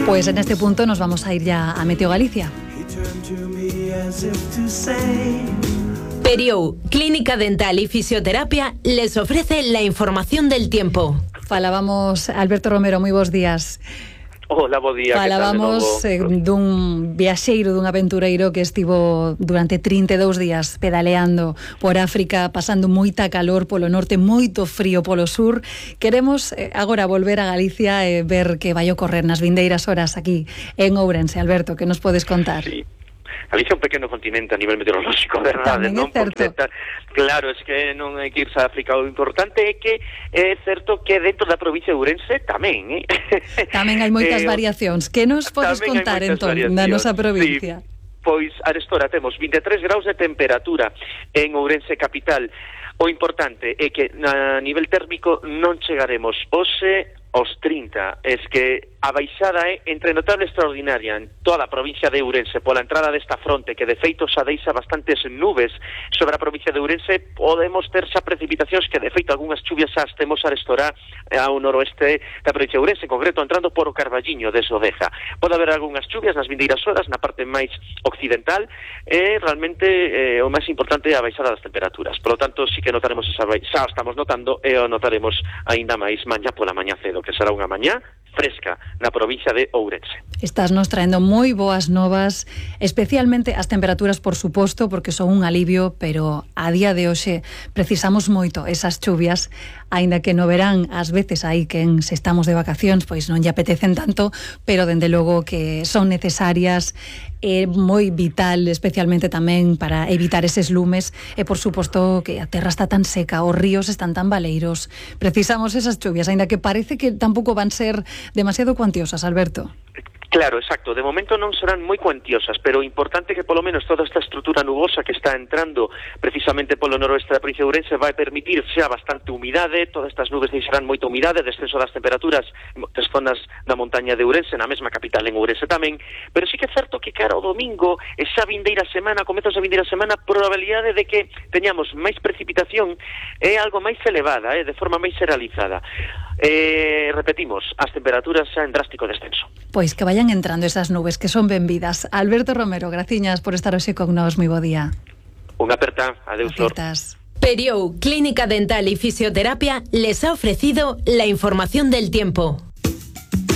Pues en este punto nos vamos a ir ya a Meteo Galicia. Periou, Clínica Dental y Fisioterapia, les ofrece la información del tiempo. Falábamos, Alberto Romero, moi bons días. Hola, bo día. Falábamos dun viaxeiro, dun aventureiro que estivo durante 32 días pedaleando por África, pasando moita calor polo norte, moito frío polo sur. Queremos agora volver a Galicia e ver que vai ocorrer nas vindeiras horas aquí en Ourense. Alberto, que nos podes contar? Sí. Galicia é un pequeno continente a nivel meteorolóxico, verdade, non? Claro, es que non hai que irse a África. O importante é que é certo que dentro da provincia de Ourense tamén, Tamén hai moitas variacións. Que nos podes contar, entón, na nosa provincia? Sí, pois, arestora temos 23 graus de temperatura en Ourense capital. O importante é que a nivel térmico non chegaremos hoxe aos 30, es que a baixada é entre notable e extraordinaria en toda a provincia de Ourense pola entrada desta fronte que de feito xa deixa bastantes nubes sobre a provincia de Ourense. Podemos ter xa precipitacións que de feito algunhas chuvias xa as temos a restorar ao noroeste da provincia de Ourense, en concreto entrando por o Carballiño de Sodeza. Pode haber algunhas chuvias nas vindeiras horas na parte máis occidental e realmente o máis importante é a baixada das temperaturas. Por lo tanto, sí que notaremos esa baixada, xa estamos notando e o notaremos aínda máis mañá pola mañá cedo, que será unha mañá fresca na provincia de Ourense. Estás nos traendo moi boas novas, especialmente as temperaturas, por suposto, porque son un alivio, pero a día de hoxe precisamos moito esas chuvias, aínda que no verán ás veces aí que se estamos de vacacións, pois non lle apetecen tanto, pero dende logo que son necesarias, é moi vital, especialmente tamén para evitar eses lumes, e por suposto que a terra está tan seca, os ríos están tan baleiros, precisamos esas chuvias, aínda que parece que tampouco van ser demasiado cuantiosas, Alberto. Claro, exacto. De momento non serán moi cuantiosas, pero importante que polo menos toda esta estrutura nubosa que está entrando precisamente polo noroeste da provincia de Ourense vai permitir xa bastante humidade. Todas estas nubes deixarán moita humidade, descenso das temperaturas das zonas da montaña de Ourense, na mesma capital en Ourense tamén, pero sí que é certo que cara ao domingo, esa vindeira semana, comezos da vindeira semana, probabilidade de que teñamos máis precipitación é algo máis elevada, de forma máis generalizada. Repetimos, as temperaturas xa en drástico descenso. Pois que vayan entrando esas nubes, que son benvidas. Alberto Romero, graciñas por estar hoxe con nós, moi bo día. Unha aperta, adeus. Periou, Clínica Dental y Fisioterapia les ha ofrecido la información del tiempo.